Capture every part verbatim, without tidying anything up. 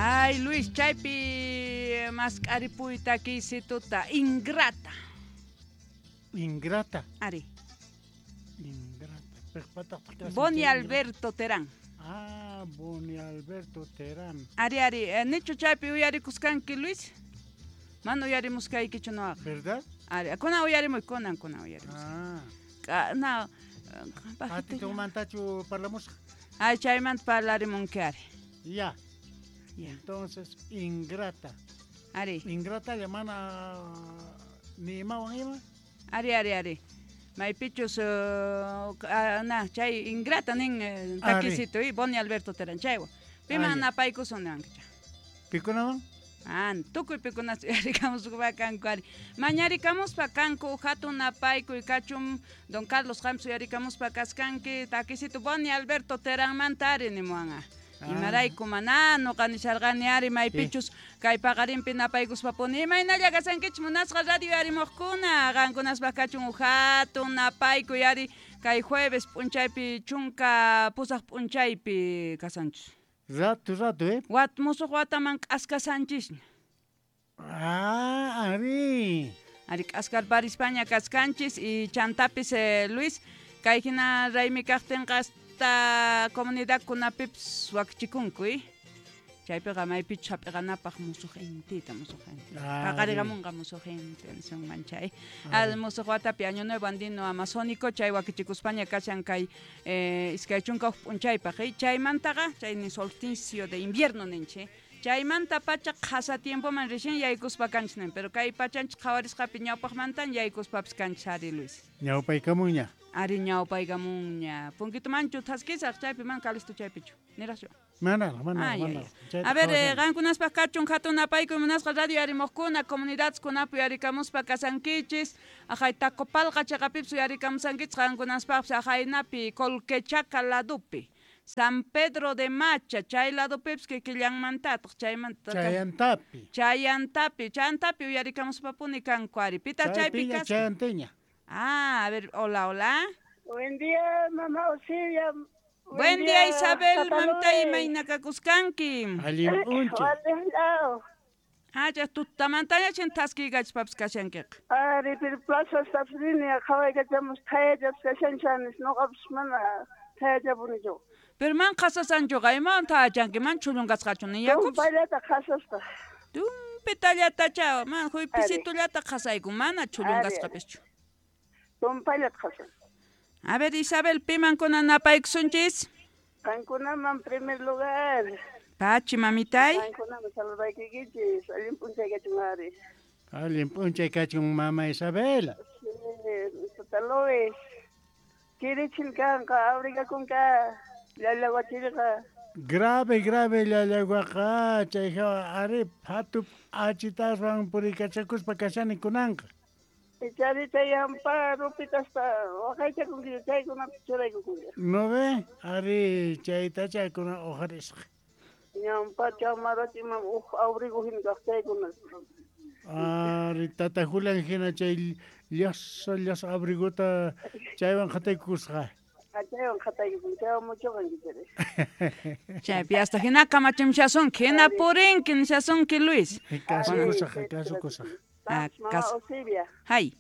Ay, Luis, chaypi mask'aripuy takisituta ingrata. Ingrata. Ari. Ingrata. Boni Alberto Terán. Ah, Boni Alberto Terán. Ari, ari, eh, nichu chaypi uyarikusqanki, Luis? Mana uyarimusqaykichu noqaqa. ¿Verdad? Ari, kunan uyarimuy, kunan, kunan uyarimus. Ah. Ka, na, Atimantachu parlamusqa. Ay, chaymanta parlarimunki, ari. Ya. Ya. Entonces, ingrata. Ari. Ingrata mana ni imawan ima? Ari, ari, ari. Maypichus uh, na, chay ingrata nin eh, takisito y Boni Alberto Terán chaywan. Piman napaykusun niwankicha. Pikunawan? Ah, tukuy pikunas uyarikamuspa kanku ari. Mañarikamuspa kanku hatun napaykuy kachun don Carlos James uyarikamuspa kaskanki takisito Boni Alberto Teránmanta ari nimuwanqa. Imarayku mana noqa nisharqani ari maypichus kay paqarinpi napaykuspapuni imaynalla kasankichik munasqa radio yarimuqkuna qankunaspaq kachun hatun napaykuy ari kay jueves p'unchaypi chunka pusaq p'unchaypi kasanchis. Rato rato, eh? Wat musuq wataman k'askasanchisña. Ah, ari. Ari k'askarparispaña kaskanchis y chantapis eh, Luis kay hina raymi kaqtinqa hasta comunidadkunapipis wakichikunku, eh? Chaypiqa maypichus hap'iqanapaq musuq intita, musuq inti. Paqariqamunqa musuq inti nisunman chay. Al musuq watapi año nuevo andino amazónico chay wakichikuspaña kashan kay eh, iskay chunka huk p'unchaypaq, eh? Chaymantaqa chay ni solsticio de invierno ninchik. Chaymanta pacha qhasa tiempoman recién yaykuspa kanchis nin, pero kay pachanchik qhawarisqapi ñawpaqmantan yaykuspapis kanchis ari Luis. Ñawpaykamunña. Ari ñawpaykamunña. Punkitumanchu thaskisaq chaypi man kalisto chaypichu. Niraqchu. Mana, mana, mana. A ver, eh, qankunaspaq kachun hatun napaykuy munasqa radio yarimuqkuna, comunidadkunapi uyarikamuspa kasankichis, ajay Tacopalqa chaqapipis uyarikamusankichis qankunaspaqpis ajaynapi Colquechaca ladupi. San Pedro de Macha, chay ladupipis kikillanmantataq, chaymanta Chayantapi. Chayantapi, chayantapi uyarikamuspapuni kanku ari. Pita chaypi kasqa. Chayanteña. Ah, a ver, hola, hola. Buen día, mamá Osiria. Buen, Buen día, Isabel, mamta imayna kakuskanki. Allin p'unchay. Ah, ya tutamantaña chin thaskiykachpapis kashankiqa. Ari, pero plaza rini qhawaykachamos thayachapis kashanchanis, noqapis mana thayachapunichu. Pero man qhasasanchuqa imawan thayachanki, man chhullunqasqachu niyakupis. Tumpallata qhasasqa. Tumpitallatacha, man huypisitullata qhasayku, mana chhullunqasqapischu. Tumpallata qhasan. A ver, Isabel, piman kunan napaykusunchis? Qankunaman primer lugar. Pachi, mamitay. Qankunaman saludaykikichis, allin p'unchay kachun ari. Allin p'unchay kachun, mama Isabel. Sí, Tata Luis. Kirichin kanqa, abrigakunka, llallawachiriqa. Grave, grave llallawaqa, chayqa ari phatu achitaswan purikachakuspa kashani kunanqa. Chari chay hampa rupitasta waqaychakunki chaykunapi churaykukunki. ¿No ve? Ari chaytacha kuna uqarisqa. Ñampa chamarachima uj abrigo hina kaq chaykuna. Ari tata Julián hina chay llasa llasa abrigota chaywan qhataykusqa. Chaywan qhataykukun, chaywan muchuqanki chari. Chaypi hasta hina kamachimshasunki, hina purinki nishasunki Luis. Kasukusaq, kasukusaq. Ah, Mama Osibia. Hay.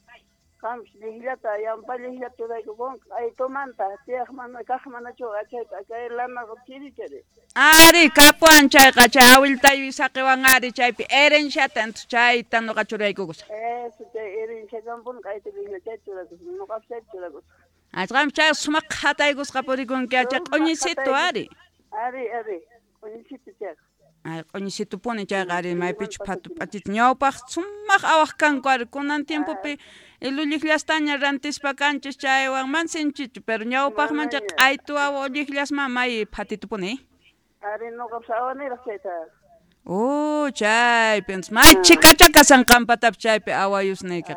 Qamsh llillata, yampa llillata churaykukunqa, aytumanta, tiyaq mana kaq manachu achayta, kay lanaqa chiri chari. Ari, kapuwan chayqa, chay awiltayu saqiwan ari chaypi herenciata chayta noqa churaykukusaq. Eso, chay herencia kampun kayta llilla chay churakusaq, noqapis chay churakusaq. Achqam chay sumaq qhataykusqa purikunki, chay q'uñisito ari. Ari, ari, q'uñisito chayqa. Ay, q'uñisitupuni chayqa ari maypichu phatu p'achita ñawpaq sumaq awaq kanku ari kunan tiempopi lulliqllastaña rantispa kanchis chaywan man sinchichu, pero ñawpaqman chay q'aytu awa ulliqllasman may phatitupuni. Ari noqapis awaniraq chayta. Oh, chaypi may chikacha kasan qampatapis chaypi awayusniykiqa.